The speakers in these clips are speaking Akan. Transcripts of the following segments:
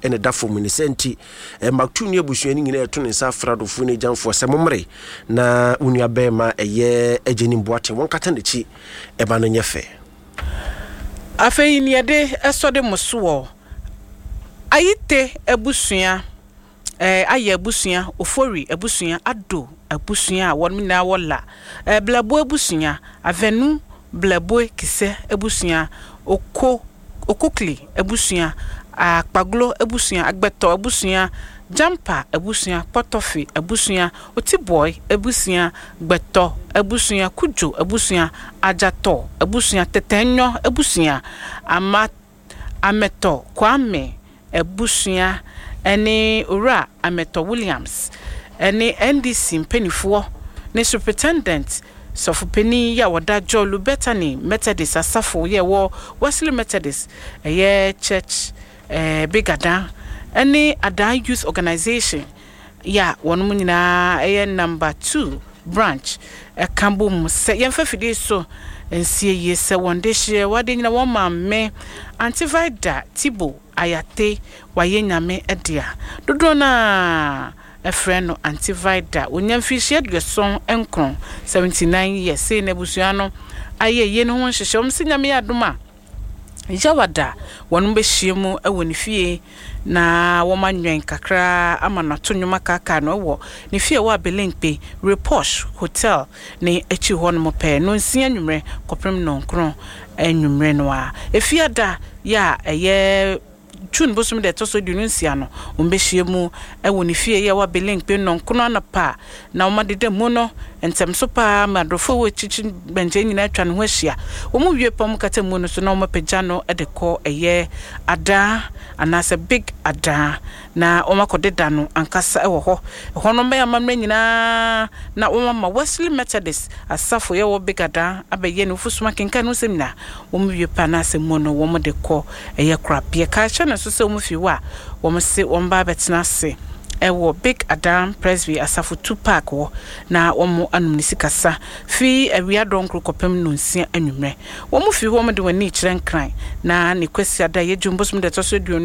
na ɛda fam. Ne saa nti, Maktoum ne abusua no nyinaa ɛto ne nsa afrɛ adɔfoɔ ne agyamfoɔ sɛ mommere na wo nua bɛrima ɛyɛ Agyenim Boateng wɔnkata n'akyi ɛma no nyɛ fɛ. Afei nea ɛde sɔ de mo soɔ, Ayite abusua, eh, Ayɛ abusua, Ofori abusua, Addo abusua a wɔn nyinaa wɔ La, eh, Blɛboe abusua, Avenu Blɛboe Kisɛ abusua, Oko, Okokli abusua, Akpaglo abusua, Agbɛtɔ abusua, Jampa abusua, Kpɔtɔfe abusua, Otibɔe abusua, Gbɛtɔ abusua, Kudjo abusua, Adjatɔ abusua, Tɛtɛnyɔ abusua, Ama Ametɔ Kwame abusua ne Owura Ametɔ Williams ne NDC mpaninfoɔ ne Superintendent Sɔfopanin yi a ɔda Jolu Bethany Methodist Asafo yi a ɛwɔ Wesley Methodist ɛyɛ Church Big Adan ne Adan Youth Organization yi a wɔnom nyinaa yɛ Number 2 Branch ka bom sɛ yɛmfa fidie so nsie yie sɛ wɔn dehyeɛ wade nyina wɔn maame Auntie Vida Tibo Ayate wayɛ Nyame dea. Dodoɔ no ara frɛ no Auntie Vida. Ɔnya mfirihyia 79, 79 years. Sei na abusua no ayɛ yie no ho nhyehyɛ. Wɔn sɛ Nyame yɛ adom a, Yawada wɔn bɛhyia mu wɔ ne fie na wɔanwɛn kakra ama no ato nnwom akaakaa no wɔ ne fie a ɛwɔ Abelenkpe, Reposh Hotel ne akyiri hɔnom pɛɛ, nnɔnsia anwummerɛ kɔpem nnɔnkron anwummerɛ no ara. Efiada yi a ɛyɛ June bosome da ɛtɔ so 26 no, wɔbɛhyia mu wɔ ne fie yi a ɛwɔ Abelenkpe nnɔnkron anɔpa na wɔadeda mu no ntɛmso pa ara ma adɔfo a ɛwɔ akyirikyiri bɛnkyɛn nyinaa atwa ne ho ahyia. Wɔwie pɛ a, wɔkata mu no so na wɔapagya no de kɔ ɛyɛ adaa anaasɛ big adaa na wɔakɔdeda no ankasa wɔ hɔ. Ɛhɔ no wɔbɛyɛ amammerɛ nyinaa na wɔama Wesley Methodist asafo a ɛwɔ Big Adaa abɛyɛ ne wufosom akenkan ne ho nsɛm nyinaa. Wɔwie pɛ anaasɛ mu no wɔde kɔ ɛyɛ korabeɛ. Kae hyɛ no nso sɛ wɔfi hɔ a wɔse wɔba abɛtena ase wɔ Big Adan Presby Asafo Tu Park hɔ na wɔanom ne sikasa fi awia dɔnkoro kɔpem nnɔnsia anwummerɛ. Wɔfi hɔ wɔde wɔn ani rekyerɛ Nkran na ne Kwasiada a ɛyɛ June bosome da ɛtɔ so 28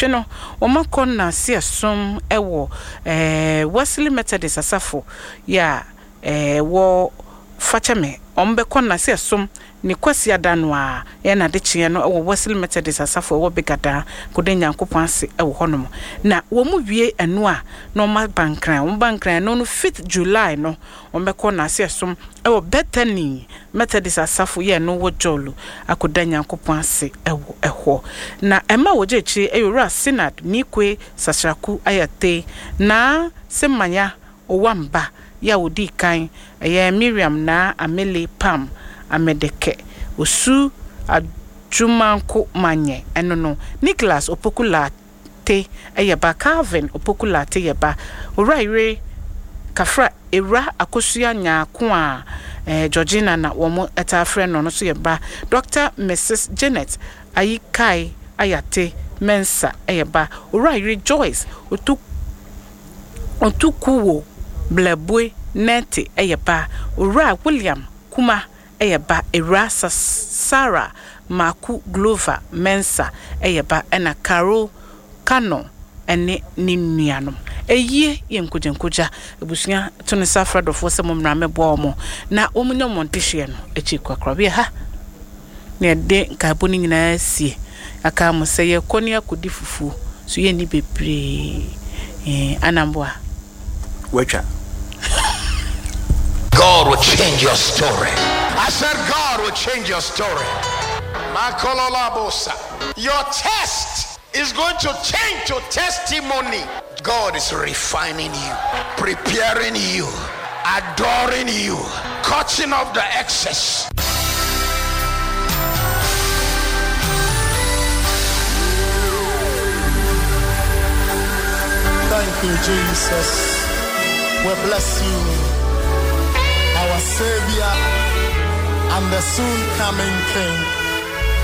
no wɔakɔ nnanse ɛsom wɔ Wesley Methodist Asafo yi a ɛwɔ Fakyɛme. Wɔbɛkɔ nnanse ɛsom Ne Kwasiada no ara, yɛ n'adekyeɛ no wɔ Wesley Methodist Asafo a ɛwɔ Big Adan, kɔda Nyankopɔn ase wɔ hɔnom. Na wɔn wie ɛno a, na wɔn aba Nkran. Wɔn ba Nkran ɛno no fifth July no, wɔn bɛkɔ Nase ɛsom wɔ Bethany Methodist Asafo yɛ ɛno wɔ Jolu akɔda Nyankopɔn ase wɔ ɛhɔ. Na ɛma wɔgya akyire yɛ Owura Sinad Nikwe Sasraku Ayatey, Naa Semanya Owamba yi a odii kan, ɛyɛ Miriam Naa Amele Pam Amedeke, Osu Adwumanko Manyɛ, ɛno no, Nicholas Opoku Lartey yɛ ba, Calvin Opoku Lartey yɛ ba, Owura Yere Kafra Ewura Akosua Nyarko a Georgina na wɔtaa frɛ no no nso yɛ ba, Dɔkta Misis Janet Ayikai Ayate Mensah yɛ ba, Owura Yere Joyce Otu Otukuwo Blɛboe Nɛte yɛ ba, Owura William Kuma yɛ ba, Ewura Sarah Maku Glover Mensah yɛ ba ɛna Carol Kano ne ne nuanom. Ayie yɛ nkogyankogya. Abusua to ne nsa frɛ adɔfoɔ sɛ mommra mmɛboa wɔn na wɔnya wɔn adehyeɛ no akyi korakora. Ha na yɛde nkaebɔ no nyinaa sie. Yɛaka mo sɛ yɛkɔ ne akɔdi fufuo so yɛnni bebree eh, Anamboa. Watwa. God will change your story. I said God will change your story. Makololabosa. Your test is going to change to testimony. God is refining you, preparing you, adoring you, cutting off the excess. Thank you, Jesus. We bless you, our Savior and the soon coming King.